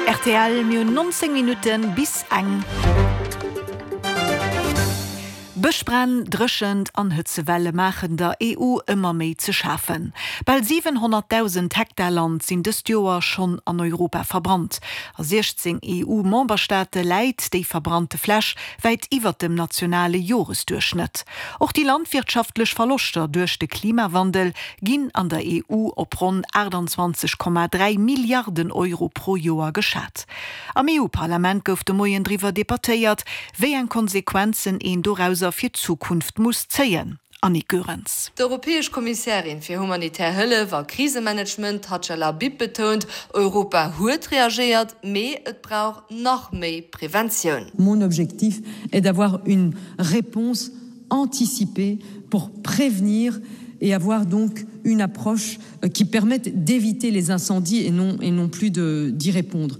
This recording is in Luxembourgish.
Rtl, Mir hunn 19 Minutten bis eng. Bëschbränn, Dréchent an Hëtzewelle maachen der EU ëmmer méi ze schafen. Bal 700.000 Hektar Land sinn dëst Joer schonn an Europa verbrannt. A 16 EU-Memberstaate läit déi verbrannte Fläch wäit iwwert dem nationale Joresduerchschnëtt. Och déi landwirtschaftlech Verloschter duerch de Klimawandel ginn an der EU op ronn 28,3 Milliarden Euro pro Joer geschat. Am EU-Parlament gouf de Moien driwwer debattéiert, wéi eng Konsequenzen een dorauser fir d'Zukunft muss zéien. Annick Goerens. D'Europäesch Kommissärin fir humanitär Hëllef a Krisemanagement, Hadja Lahbib, betount, Europa huet reagéiert, mee et brauch nach méi Preventioun. Mon objectif est d'avoir une réponse anticipée pour prévenir et avoir donc une approche qui permette d'éviter les incendies et non, et non plus d'y répondre.